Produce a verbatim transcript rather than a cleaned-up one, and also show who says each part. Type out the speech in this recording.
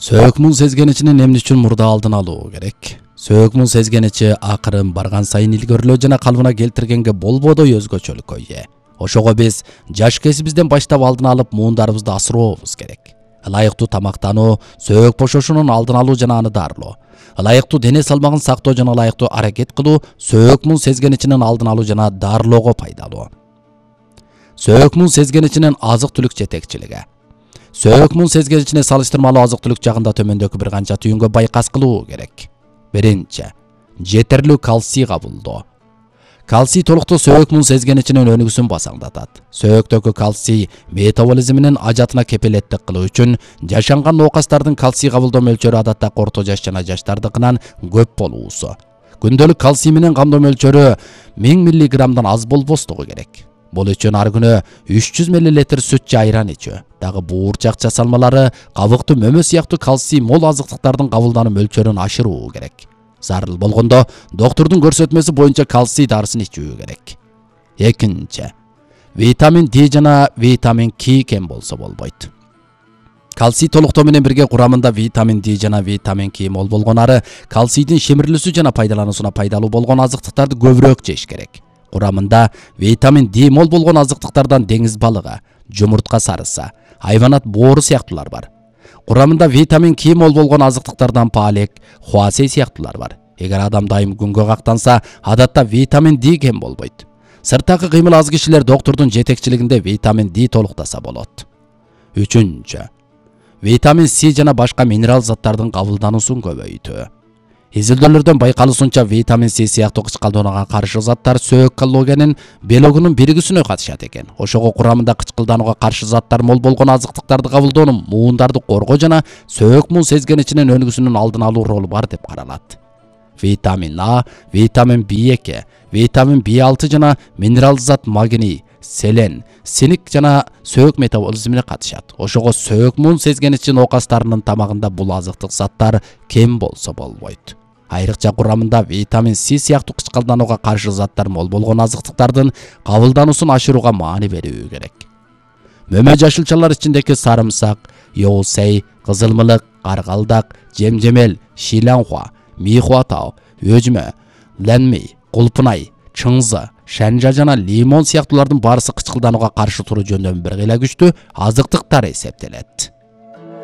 Speaker 1: Сөөк муң сезгеничинин эмне үчүн мурда алдын алуу керек? Сөөк муң сезгеничи акырын барган сайын илгөрлөө жана калыбына келтиргенге болбодой өзгөчөлүккө ээ. Ошого биз жаш кезибизден баштап алдын алып муундарыбызды асырообуз керек. Ылайыктуу тамактануу, сөөк бошошунун алдын алуу жана аны дарылоо. Ылайыктуу дене салмагын сактоо жана ылайыктуу аракет кылуу сөөк муң сезгеничинин алдын алуу жана дарылоого пайдалуу. Сөөк муң сезгеничинин азык-түлүк жетекчилиги. Сөөк муң сезгеничине салыштырмалуу азык-түлүк жагында төмөндөгү бир канча түйүнгө байкас кылуу керек. Биринчи, жетерлүү кальций кабылдоо. Кальций толуктуу сөөк муң сезгеничинин өнүгүүсүн басаңдатат. Сөөктөгү кальций метаболизминин ажатына кепилеттик кылуу үчүн жашанган оокастардын кальций кабылдоо мөлчөрү адатта орто жаш жана жаштардыкынан көп болуусу. Күндөлүк кальций менен камдоо мөлчөрү миң миллиграммдан аз болбостугу керек. Бул үчүн ар күнү үч жүз миллилитр сүт же айран ичүү, дагы буурчак жасалмалары, кабыктуу мөмө сыяктуу кальций мол азыктыктардын кабылдануу мөлчөрүн ашыруу керек. Зарыл болгондо доктурдун көрсөтмөсү боюнча кальций дарысын ичүү керек. Экинчи, витамин Д жана витамин К кем болсо болбойт. Кальций толуктоо менен бирге курамында витамин Д жана витамин К мол болгонары кальцийдин шемирилүүсү жана пайдалануусуна пайдалуу болгон азыктыктарды көбүрөөк жеш керек. Курамында витамин Д мол болгон азыктыктардан деңиз балыгы, жумуртка сарысы, хайванат боору сыяктуулар бар. Курамында витамин К мол болгон азыктыктардан паалек, хуасей сыяктуулар бар. Эгер адам дайым күнгө кактанса, адатта витамин Д кем болбойт. Сырттагы кыймыл аз кишилер доктурдун жетекчилигинде витамин Д толуктаса болот. Үчүнчү, витамин С жана башка минерал заттардын кабылдануусун көбөйтүү. Изилдөөлөрдөн байкалуусунча витамин С сыяктуу кычкылданууга каршы заттар сөөк коллагенин белогунун биригүүсүнө катышат экен. Ошого курамында кычкылданууга каршы заттар мол болгон азыктыктарды кабылдоонун муундарды коргоо жана сөөк муң сезгеничинин өнүгүүсүнүн алдын алуу ролу бар деп каралат. Витамин А, витамин Б эки, витамин Б алты жана минерал зат магний, селен, синик жана сөөк метаболизмине катышат. Ошого сөөк муң сезгеничин оокастарынын тамагында бул азыктык заттар кем болсо болбойт. Айрыкча курамында витамин С сыяктуу кычкылданууга каршы заттар мол болгон азыктыктардын кабылдануусун ашырууга маани берүү керек. Мөмө жашылчалар ичиндеги сарымсак, йоусей, кызылмылык, каргалдак, жемжемел, шиланхуа, михуатау, өжмө, ленми, кулпунай, чыңзы, шанжа жана лимон сыяктуулардын баарысы кычкылданууга каршы туруу жөнүндө бир кыйла күчтүү азыктыктар эсептелет.